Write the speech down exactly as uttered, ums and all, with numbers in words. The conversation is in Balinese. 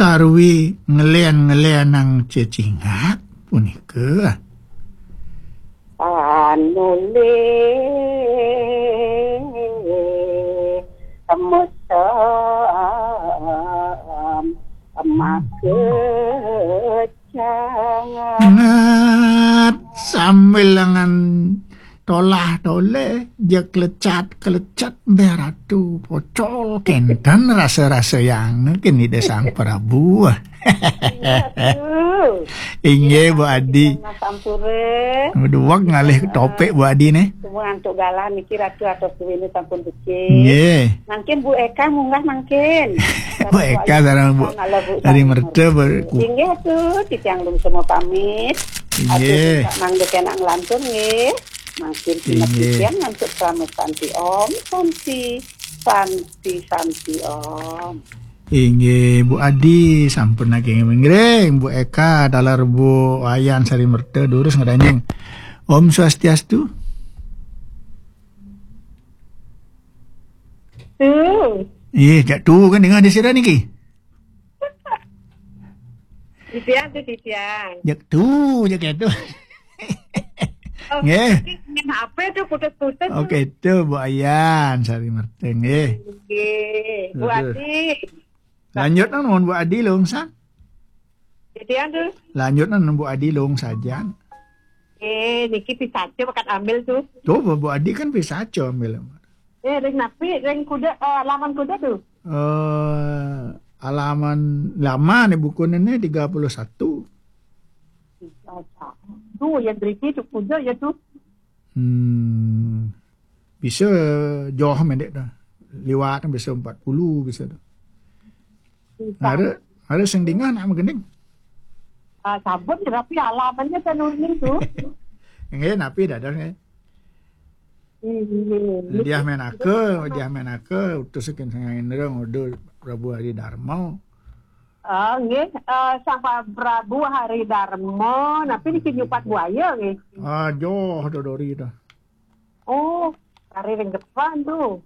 Sarwi ngelen-ngelenang cecingak punika. Anulih temesem makecang. Ngat sambil lengan tolah-toleh, ja klecat-klecat, béh Ratu pocol, kénten rasa-rasa yang kén Ida Sang Prabu. Iya, tuh. Inggih, Bu Adi. Mas Ampura. Duweg ngalih topik, Bu Adi, nih. Semua antuk galah niki Ratu atos duwene sampun becik. Nggih. Mangkin Bu Eka munggah mangkin. Bu Eka sareng Bu Sari Merta ber-, inggih tuh, titiang lungsur pamit. Inggih. Atur mangda kenak nglantur nggih. Mangkin sinep titiang ngantuk krama santi om, santi, santi, santi om. Inggih, Bu Adi, sampun naging ngiring. Bu Eka, taler Bu Wayan Sari Merta, durus ngranjing. Om Swastiastu. Tuh. Iya, jak tuh kan dengar di sira niki. Titiang tuh, titiang. Jak tuh, jak itu. Oh, nggih. Niki main H P tuh putus-putus tuh. Oke, itu Bu Ayan Sari Merta nggih. Nggih, Bu Adi. Lanjut nang nuhun Bu Adi lungsang. Titiang tuh. Lanjut nang nuhun Bu Adi lungsang. Eh, niki pisaca bakat ambil tuh. Tuh, Bu, Bu Adi kan pisaca ambil. Eh, ring napi, ring kuda, eh, halaman kuda tuh. Eh, halaman lama nih bukunya nih, tiga puluh satu. Tuh, ya driki tuh kuda ya tuh. Hmm. Bisa jauh mendek dah. Liwat bisa empat puluh bisa dah. Bisa. Ada, ada sing dingah nak magending. Ah, sabun ya, tapi halamannya kan uning tuh. Nggih, napi dados nggih. Iya. Diah menaka, diah menaka, utus saking Sang Indra ngudu Prabu Hari Darma. Ah, nggih, eh, Sang Pa-, Prabu Hari Darma, napi niki nyupat buaya nggih. Ah, joh dodori dah. Oh, kari ring depan tuh.